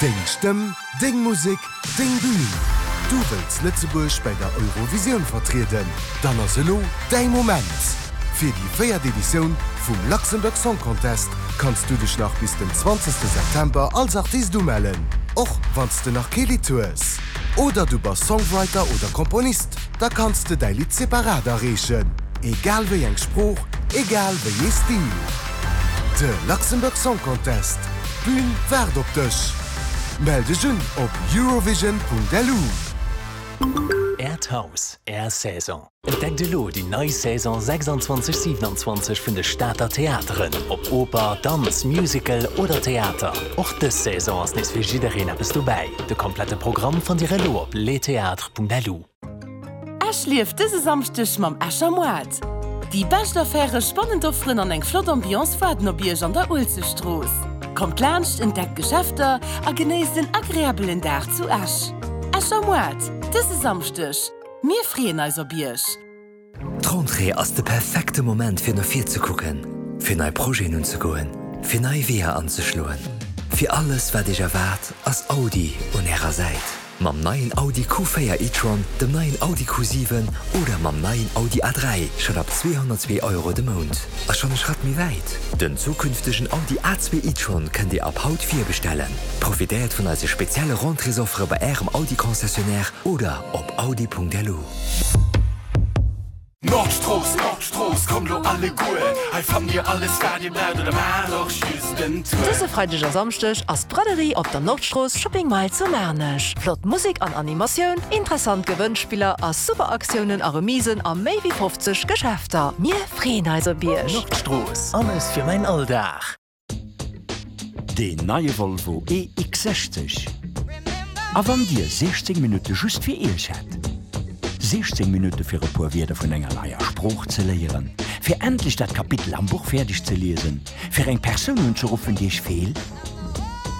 Deng Stëmm, deng Musek, deng Bühn! Du wëlls Lëtzebuerg bäi der Eurovisioun vertrieden? Dann ass elo däi Moment! Fir déi véiert Editioun vum Luxembourg Song Contest kanns du dech nach bis den 20 September als Artist umellen, och wann s de nach kee Lidd hues. Oder du bass Songwriter oder Komponist, da kanns de däi Lidd separat areechen, egal wéi eng Sprooch, egal wéi ee Stil. De Luxembourg Song Contest, d'Bün waart op dech! Mell dech un op eurovision.lu. Äert Haus, Är Saison. Entdeckt elo déi nei Saison 26, 27 vun de Stater Theateren, ob Oper, Danz, Musical oder Theater. Och dës Saison ass nees fir jiddereen eppes dobäi. De komplette Programm fannt Dir elo op lestheatres.lu. Esch lieft dëse Samschdeg mam Escher Moart. Déi bescht Affäre, spannend Offeren an eng flott Ambiance waarden op Iech an der Uelzechtstrooss. Kommt laanscht, entdeckt d'Geschäfter a genéisst en agreabelen Dag zu Esch. Escher Moart, dëse Samschdeg. Mir freeën eis op Iech! D'Rentrée ass de perfekte Moment fir no vir ze kucken, fir nei Projeten unzegoen, fir nei Weeër anzeschloen. Fir alles wat Iech erwaart, ass Audi un Ärer Säit. Mam neien Audi Q4 e-tron, dem neien Audi Q7 oder mam neien Audi A3 schonn ab 202 Euro de Mount. A schonn e Schratt méi wäit, Den zukünftegen Audi A2 e-tron kënnt Dir ab haut virbestellen. Profitéiert vun eise spezielle Rentréesoffere bei Ärem Audi-Concessionnaire oder op audi.lu. Nordstrooss, Nordstrooss, kommt lo alleguer, hei fannt dir alles wat dir braucht oder maacht och just en Tour. Dëse Freideg a Samschdeg ass d'Braderie op der Nordstrooss Shopping Mile zu Maarnech. Flott Musek an Animatioun, interessant Gewënnspiller a super Aktiounen a Remisen a méi wéi 50 Geschäfter. Mir freeën eis op Iech! Nordstrooss, alles fir mäin Alldag. Deen neie Volvo EX60. A wann Dir 16 Minutte just fir Iech hätt? 16 Minutte fir e puer Wierder vun enger neier Sprooch ze léieren, fir endlech dat Kapitel am Buch fäerdeg ze liesen, fir eng Persoun unzeruffen, déi Iech feelt?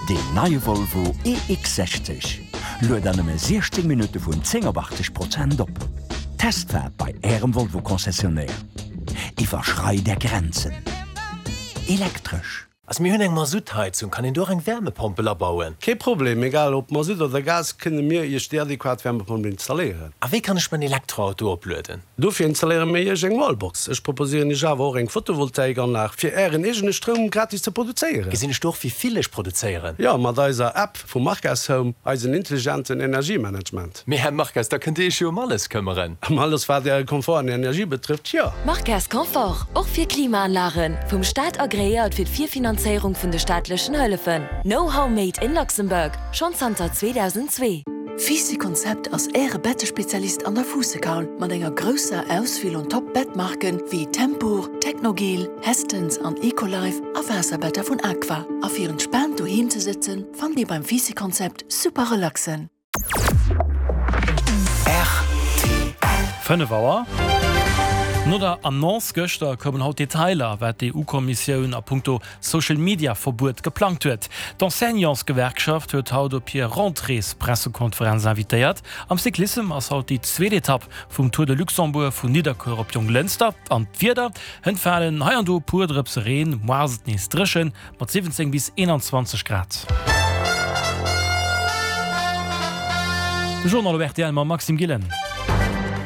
Deen neie Volvo EX60 luet an nëmme 16 Minutte vun 10 op 80 Prozent op. Testfaart bei Ärem Volvo-Concessionnaire. Iwwerschreit Är Grenzen. Elektresch. Also mir hunn eng Masuttheizung, kann een do och eng Wärmepompel abauen? Kee Problem, egal ob Masutt oder Gas, kënne mir Iech déi adequat Wärmepompel installéieren. A wéi kann ech mäin Elektroauto oplueden? Dofir installéiere mir Iech eng Wallbox. Ech proposéieren Iech awer och eng Photovoltaikanlag, fir Ären eegene Stroum gratis ze produzéieren. Gesinn ech do och wéi vill ech produzéieren? Jo, mat eiser App vu Marques Home, eisen intelligenten Energiemanagement. Mee Här Marques, da kënnt Dir Iech jo ëm alles këmmeren. Ëm alles wat Äre Komfort an Energie betrëfft, jo. Marques Confort, och fir Klimaanlagen, vum Staat agreéiert fir d'Virfinanzéierung vun de staatlechen Hëllefen. Know-how made in Luxembourg, schonn zanter 2002. Fisi Konzept ass Äre Bettespezialist an der Fuussekaul mat enger grousser Auswiel un Top Bettmarken wéi Tempur, Technogel, Hestens an Ecolife a Waasserbetter vun Aqua. A fir entspaant doheem ze sëtzen, fannt Dir beim Fisi Konzept super Relaxen. 5 Auer. No der Annonce gëschter koumen haut Detailer, wat d'EU-Kommissioun a punkto Social-Media-Verbuet geplangt huet. D'Enseignantsgewerkschaft huet haut op hir Rentréespressekonferenz invitéiert. Am Cyclissem ass haut déi zweet Etapp vum Tour de Luxembourg vun Nidderkuer op Jonglënster. An d'Wieder, Hënt falen hei an do e puer Drëpse Reen, moar ass et nees dréchen. Mat 17 bis 21 Grad. De Journal op rtl mam Maxime Gillen.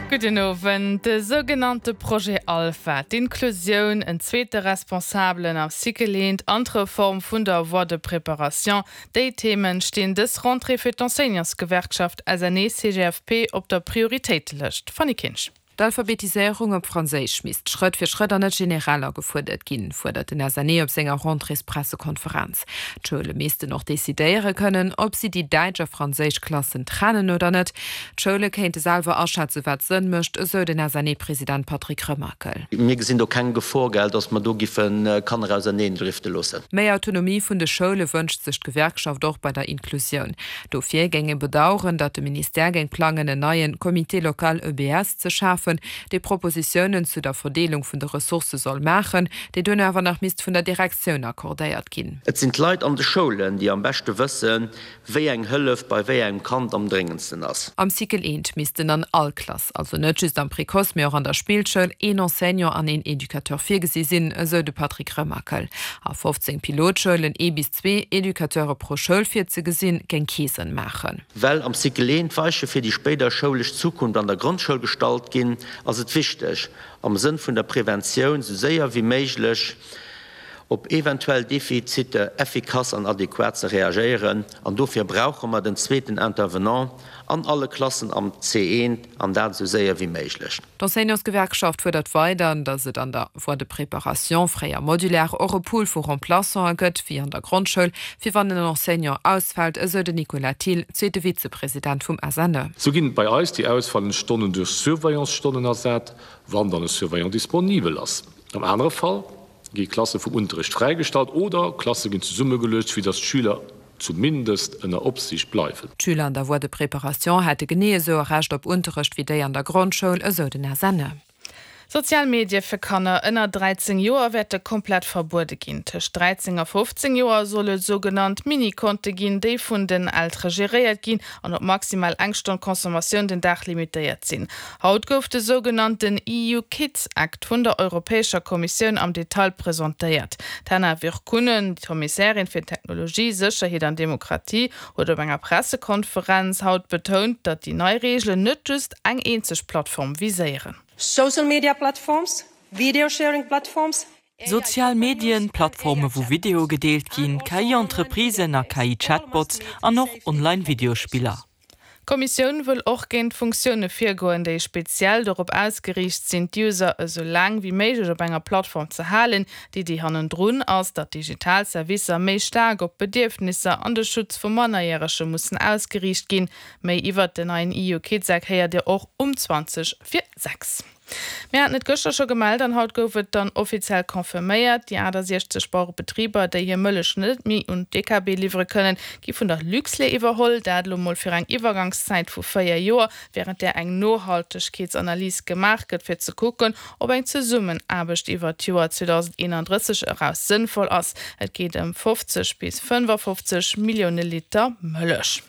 Gudden Owend. De sougenannte Projet Alpha, d'Inklusioun, en zweete Responsabelen am Cycle eent an d'Reform vun der Voie de préparation, déi Themen stinn dës Rentrée fir d'Enseignantsgewerkschaft SNE-CGFP op der Prioritéitelëscht. Fanny Kinsch. D'Alphabetiséierung op Franséisch misst Schrëtt fir Schrëtt an net generell agefuerdert ginn, fuerdert den SNE op senger Rentréespressekonferenz. D'Schoule missten och decidéiere kënnen, ob si déi däitsch a franséisch Klassen trennen oder net. D'Schoule kéinte selwer aschätzen, wat Sënn mécht, esou den SNE-President Patrick Remakel. Mir gesinn do keng Gefor, gell, datt mer do giffe Kanner auserneen drifte loossen. Méi Autonomie vun de Schoule wënscht sech d'Gewerkschaft och bei der Inklusioun. Dofir géing ee bedaueren, datt de Ministère géing plangen, en neien Comité local EBS ze schafen. schafen, dee Propositiounen zu der Verdeelung vun de Ressourcë soll maachen, déi duerno awer nach misst vun der Direktioun accordéiert ginn. Et sinn d'Leit an de Schoulen, déi am beschte wëssen, wéi eng Hëllef bei wéi engem Kand am dréngendsten ass. Am Cycle eent missten an all Klass, also net just am Précoce, mee och an der Spillschoul, een Enseignant an een Educateur virgesi sinn, esou de Patrick Remakel. A 15 Pilotschoulen ee bis zwee Educateure pro Schoul virzegesinn, géing kee Sënn maachen. Well am Cycle eent d'Weiche fir déi spéider schoulesch Zukunft an der Grondschoul gestallt ginn, ass et wichteg, am Sënn vun der Preventioun sou séier wéi méiglech op eventuell Defizite effikass an adequat ze reagéieren an dofir brauche mer den zweeten Intervenant an alle Klassen am C1 an dat esou séier wéi méiglech. D'Enseignantsgewerkschaft fuerdert weider, datt et an der Voie de préparation, fréier modulaire, och e Pool vu Remplaçanten gëtt, wéi an der Grondschoul, fir wann en Enseignant ausfält, esou den Nicolas Thill, zweete Vizepresident vum SNE. Sou ginn bei eis déi ausfallend Stonnen duerch Surveillancestonnen ersat, wann dann e Surveillant disponibel ass. Am anere Fall gi Klasse vum Unterrecht fräigestallt oder Klasse ginn zesummegeluecht, fir datt d'Schüler zumindest ënner Opsiicht bleiwen. D'Schüler an der Voie de préparation hätte genee esou e Recht op Unterrecht wéi déi an der Grondschoul, esou den SNE. Sozial Medie fir Kanner ënner 13 Joer wäerte komplett verbuede ginn. Tëscht 13 a 15 Joer soll et sougenannt Mini-Konte ginn, déi vun den Eltere geréiert ginn an op maximal eng Stonn Consommatioun den Dag limitéiert sinn. Haut gouf de sougenannten EU Kids Act vun der Europäescher Kommissioun am Detail presentéiert. D'Henna Virkkunen, d'Kommissärin fir Technologie, Sécherheet an Demokratie, huet op enger Pressekonferenz haut betount, datt déi nei Reegelen net just eng eenzeg Plattform viséieren. Social media platforms, video sharing platforms, Sozial Medien, Plattforme wou Videoe gedeelt ginn, KI-Entreprisen a KI-Chatbots an och Online-Videospiller. D'Kommissioun wëll och géint Funktioune virgoen, déi speziell dorop ausgeriicht sinn, d'User esou laang wéi méiglech op enger Plattform ze halen. D'Iddi hannendrun ass, datt digital Servicer méi staark op d'Bedierfnisser an de Schutz vu Mannerjärege mussen ausgeriicht ginn. Méi iwwert den neien EU Kids Act héiert Dir och um 20 vir 6. Mir haten et gëschter scho gemellt an haut gouf et dann offiziell confirméiert, Déi 68 Bauerebetriber, déi hir Mëllech net méi un d'DKB liwwere kënnen, gi vun der Luxlait iwwerholl. Dat elo mol fir eng Iwwergangszäit vu 4 Joer, wärend där eng Nohaltegkeetsanalys gemaach gëtt, fir ze kucken, ob eng Zesummenaarbecht iwwer d'Joer 2031 eraus sënnvoll ass. Et geet ëm 50 bis 55 Millioune Liter Mëllech.